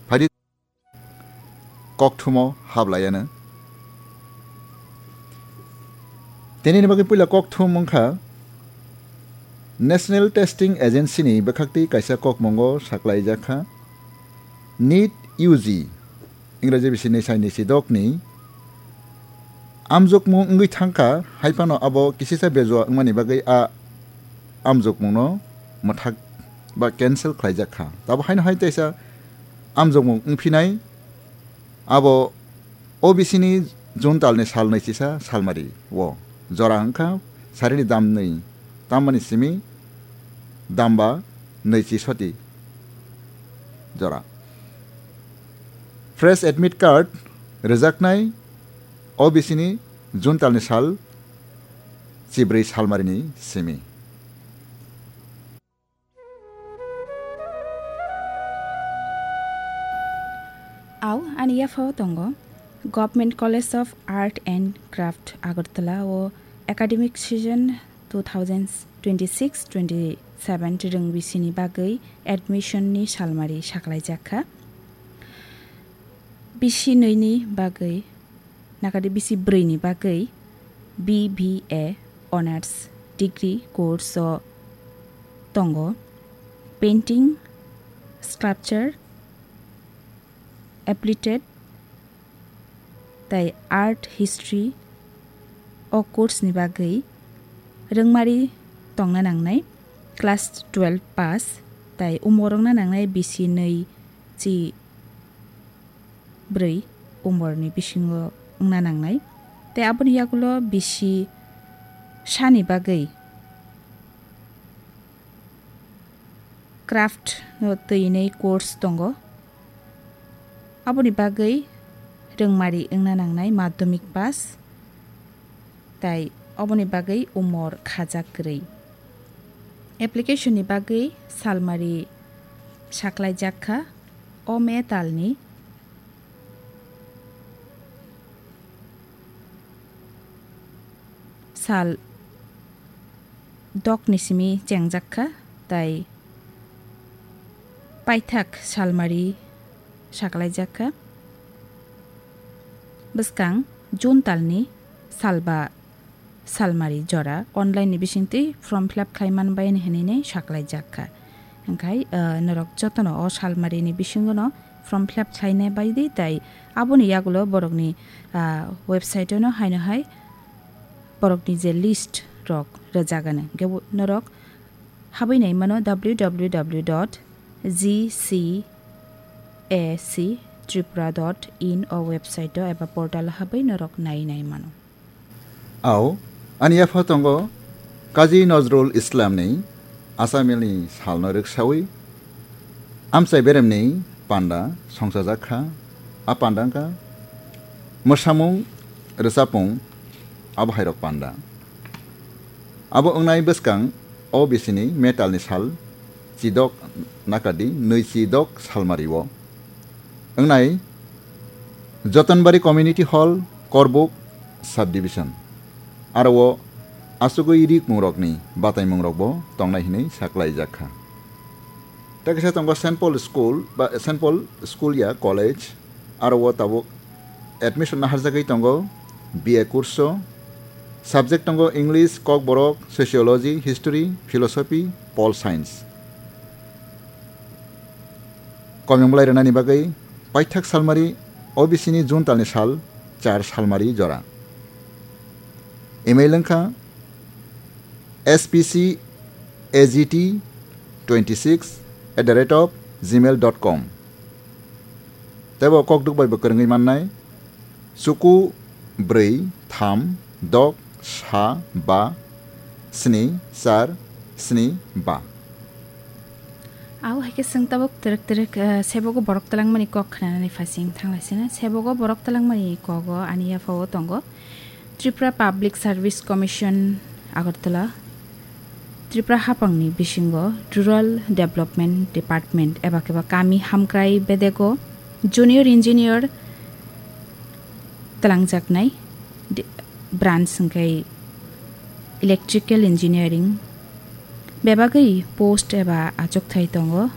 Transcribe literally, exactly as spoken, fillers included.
Phaidi kokthumo hablaiano. Tenini bagwi puila kokthum wngkha National Testing Agency ni bwkhaktwi kaisa kokmungo saklaijak kha NEET U G, Ingraji bisi ni saini si dokni amjokmung wngwi thangkha, hai phano abo kisisa bejua wngmani bagwi a amjokmungno mwthak ba cancel khlaijak kha. Tabo haino hai teisa amjokmung wngphinai abo O B C ni June talni sal naichisa salmari o jora wngkha sarini dam nwi, tamani simi damba naichi soti jora. Fresh admit card rwjaknai O B C ni June talni sal chibrwi salmarini simi. Au, ani yaphao tongo Government College of Art and Craft Agartala o academic season two thousand twenty-six twenty-seven rwng bisini bagwi admission ni salmari saklaijak kha. Bisi nwi ni bagwi, nakadi bisi brwi ni bagwi B B A Honours Degree course o tongo, Painting, Sculpture, Applied tei Art History. O course ni bagwi rwngmari tongna nangnai class twelve pass tei umor wngna nangnai bisi nwi chi bwrwi umorni bisingo wngna nangnai. Tei aboni yagulo bisi sani bagwi craft no twi nwi course tongo. Aboni bagwi rwngmari wngna nangnai madhyamik pass, tei oboni bagwi umor khajak kwrwi. Application ni bagwi salmari saklaijak kha o May talni sal dokni simi chengjak kha, tei paithak salmari saklaijak kha bwskang June talni salba salmari jora online ni bisingtwi form fill up khlai man bai hinwi saklaijak kha. Hwnkhe, ah, norok jotono o salmari ni bisingo no form fill up khlaina bai di, tei aboni yagulo borokni, ah, website o no haino hai borokni je list rok rwjagani. Hwnkhe bo-, norok habwi nai mano W W W dot G C A C Tripura dot in o website o eba portal o habwi norok nai nai mano. Au, ani yapha tongo Kazi Nazrul Islam ni Asamil ni sal no rwksawi amchai berem ni panda songchajak kha. A panda wngkha mwsamung, rwchapmung, abo hai rok panda. Abo wngnai bwskang O B C ni metal ni sal chidok nakadi nwi chidok salmari o. Wngnai Jotonbari Community Hall, Korbuk Subdivision. Aro o asugwi rikmungrokni bataimungrokbo tongnai hinwi saklaijak kha. Tei kaisa tongo Saint Paul School, ba Saint Paul School ya College, aro o tabuk admission naharjagwi tongo B A course o. Subject tongo English, Kokborok, Sociology, History, Philosophy, Pol Science. Komyung belai rwnani bagwi paithak salmari O B C ni June talni sal char salmari jora. Email wngkha S P C A G T twenty six at the rate of gmail dot com. Teibo kokduk bai bo kwrwngwi mannai. Chuku bwrwi tham dok sa ba sni char sni ba. Au hai khe chwng tabuk twrwk twrwk, eh, sebogo borok twlangmani kok khnanani phaising thanglaisina. Sebogo borok twlangmani kogo ani yaphao tongo Tripura Public Service Commission, Agartala. Tripura haphangni bisingo Rural Development Department eba khe ba kami hamkrai bedego Junior Engineer twlangjaknai di-, branch hwnkhe Electrical Engineering. Bebagwi post eba achukthai tongo